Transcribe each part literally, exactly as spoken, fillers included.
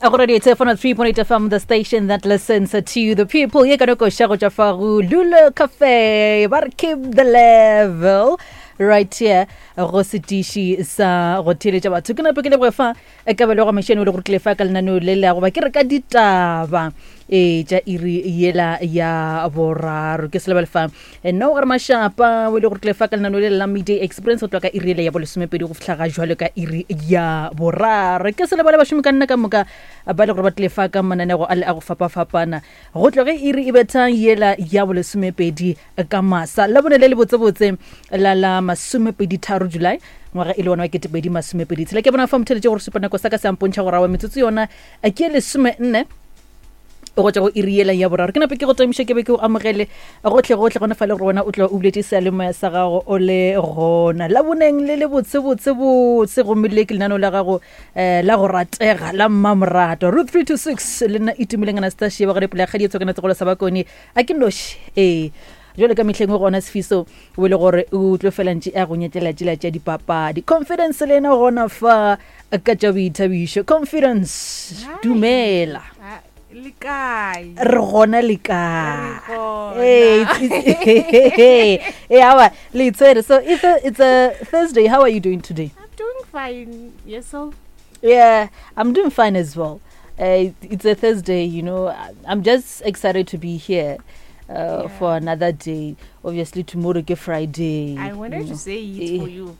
Go radio three point eight F M, the station that listens to the people. Ye ka no koša go tšwa fa go Lulu Cafe, ba re keep the level right here go setiši sa go theeletša batho. Ke nape ke leboge fa kabelo ga Mashene o le gore tlile fa ka lenaneo le le goba ke re ka ditaba e tša iri yela ya boraro. Ke se lebale fa nna o gare Mashapa o le gore tlile fa ka lenaneo le la Midday Experience go tloga ka iri yela ya bolesomepedi go fihla ga jwalo ka iri ya boraro. Ke se lebale bašomi ka nna ka moka ba le gore ba tlile fa ka mananego a le a go fapafapana go tloge iri e bethang yela ya bolesomepedi ka masa la bone le le botsebotse la la masomepedi tharo July ngwaga e le wona wa ketepedi masomepedi tshela. Ke bona fa motheletše gore supa nako sa ka se ampontšha gore awa metsotso yona ke lesome nne go tšwa go iri yela ya boraro. Ke nape ke go tamiša ke be ke o amogele gotlhe gotlhe gona fa le gore wena o tloa o buletše seyalemoya sa gago o le gona laboneng le le botsebotsebotse, gomme le ke lenaneo la gago um la go ratega la mmamorato Root three two six le nna Itumeleng Anastasia ba gare pele ya kgadi e tshokanetse golo sa bakone a ke noši ee jwale ka mehleng gona Sefiso o le gore o tlo fela ntše a go nyetlela tšela tša dipapadi. Confidence le ena gona fa ka tša boithabišo. Confidence, dumela. Le kae? Re gona le kae? Re gona. Hey, hey, awa, le itshwere. So it's a, it's a Thursday. How are you doing today? I'm doing fine. Yourself? Yeah, I'm doing fine as well. Uh, it's a Thursday, you know. I'm just excited to be here uh, Yeah. for another day. Obviously, tomorrow is Friday. I wanted you to know. say it for you.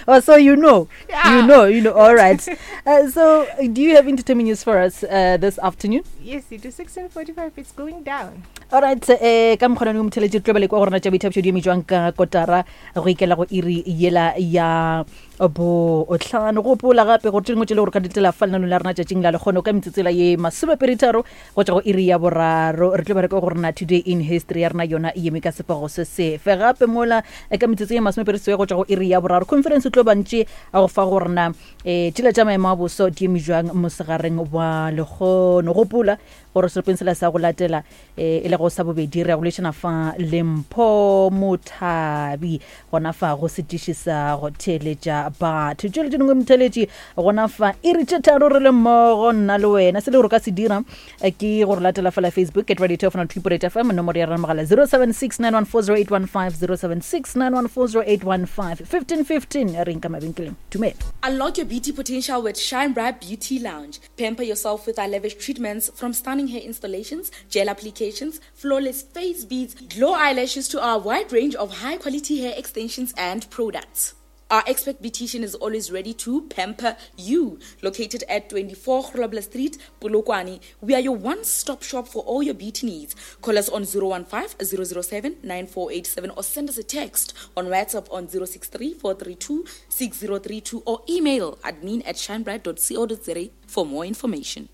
Oh, so you know. Yeah. You know, you know. All right. Uh, so, uh, do you have entertainment news for us uh, this afternoon? Yes, it is sixteen forty-five. It's going down. All right. Eh, ka mokgona o motheletše tlo bale kwa go rena tša boithabišo di eme jwang ka kotara go ikela go iri yela ya botlhano. Gopola gape gore tše dingwe tše le gore ka ditela fa lenaneo la rena tšatšing la lekgono ka metsotsela ye masomepeditharo go tšwa go iri ya boraro re tlo ba re ka go rena today in history ya rena yona e eme ka sepago se sefe gape mola eh, ka metsotso ye masomepedi seswai go tšwa go iri ya boraro conference o tlo bantše a go fa go rena um tšela tša maemo a boso di eme jwang mosegareng wa lekgono. Gopola gore serepeng sela sa go latela eh, e le go sa bobedi re ya go lešana fa Lempho Mothabi gona fa go setiši sa go theeletša batho. Tšele tše dingwe motheeletši gona fa iri tše tharo re le mmogo nna le wena. Se le gore o ka se dira eh, ke gore latela fela Facebook at radio two point eight F M, nomoro ya rena mogala zero seven six nine one four zero eight one five, zero seven six nine one four zero eight one five, fifteen fifteen. Re nka mabenkeleng. Dumela. Unlock your beauty potential with Shine Bright Beauty Lounge. Pamper yourself with our lavish treatments, from stunning hair installations, gel applications, flawless face beads, glow eyelashes to our wide range of high quality hair extensions and products. Our expert beautician is always ready to pamper you. Located at twenty-four Grobler Street, Polokwane, we are your one-stop shop for all your beauty needs. Call us on zero one five, zero zero seven, nine four eight seven or send us a text on WhatsApp on zero six three, four three two, six zero three two or email admin at shinebright dot co dot za for more information.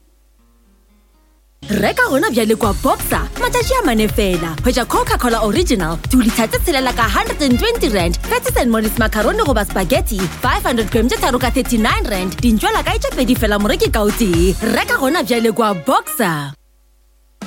Reka gona bjale kwa Boxer matšatši a mane fela. Hwetša Coca-Cola Original two litre tse tshelela ka hundred and twenty rand, Patties and Mollies macaroni goba spaghetti five hundred gram tše tharo ka thirty-nine rand, dintšwela kae tše pedi fela moreki ka o tee. Reka gona bjale kwa Boxer.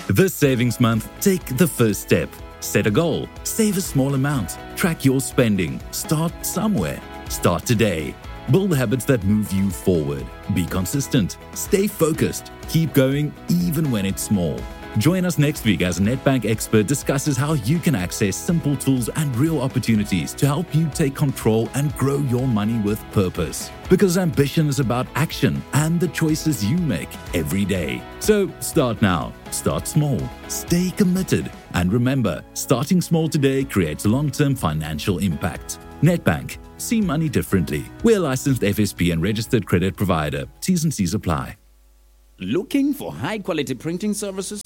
This savings month, take the first step. Set a goal, save a small amount, track your spending, start somewhere. Start today. Build habits that move you forward. Be consistent. Stay focused. Keep going even when it's small. Join us next week as Nedbank Expert discusses how you can access simple tools and real opportunities to help you take control and grow your money with purpose. Because ambition is about action and the choices you make every day. So start now. Start small. Stay committed. And remember, starting small today creates long-term financial impact. Nedbank. See money differently. We're a licensed F S P and registered credit provider. T's and C's apply. Looking for high-quality printing services?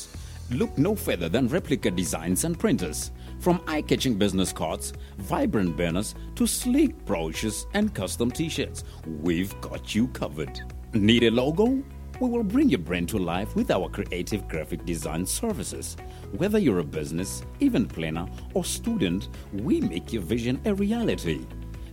Look no further than Replica Designs and Printers. From eye-catching business cards, vibrant banners, to sleek brochures and custom t-shirts, we've got you covered. Need a logo? We will bring your brand to life with our creative graphic design services. Whether you're a business, event planner, or student, we make your vision a reality.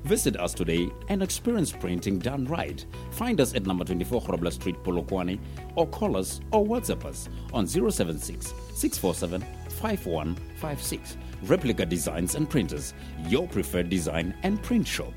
Visit us today and experience printing done right. Find us at number twenty-four Grobler Street, Polokwane, or call us or WhatsApp us on zero seven six, six four seven, five one five six. Replica Designs and Printers, your preferred design and print shop.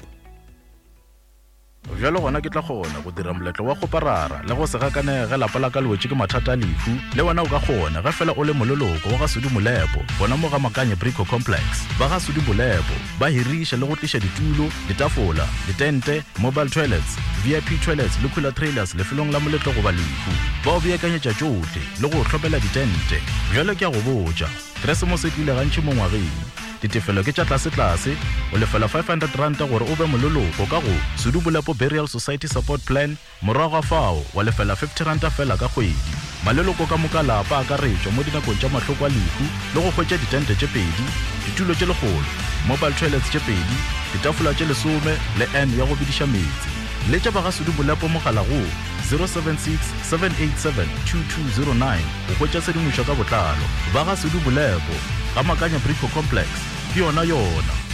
Bjalo gona ke tla kgona go dira moletlo wa kgoparara le go se gakanege ge lapa la ka le wetše ke mathata a lehu. Le wena o ka kgona ge fela o le moleloko wa ga Sudi Molepo gona mo ga Makanye Brico Complex. Ba ga Sudi Molepo ba hiriša le go tliša ditulo, ditafola, ditente, mobile toilets, V I P toilets le cooler trailers lefelong la moletlo goba lehu. Ba o beakanyetša tšohle le go hlopela ditente. Bjalo ke a go botša, Keresemose e tlile gantši mo ngwageng. Ditefelo ke tša tlase-tlase, o lefela five hundred ranta gore o be moleloko ka go Sudi Bolepo Burial Society Support Plan, morago ga fao wa lefela fifty ranta fela ka kgwedi. Maleloko ka moka lapa a akaretšwa mo dinakong tša mahloko a lehu le go hwetša ditente tše pedi, ditulo tše lekgolo, mobile toilets tše pedi, ditafola tše lesome le N ya go bidiša meetse. Letša ba ga Sudi Bolepo mogala go zero seven six, seven eight seven, two two zero nine go hwetša tshedimošo ka botlalo. Ba ga Sudi Bolepo, ga Makanya Brico Complex, ke yona yona.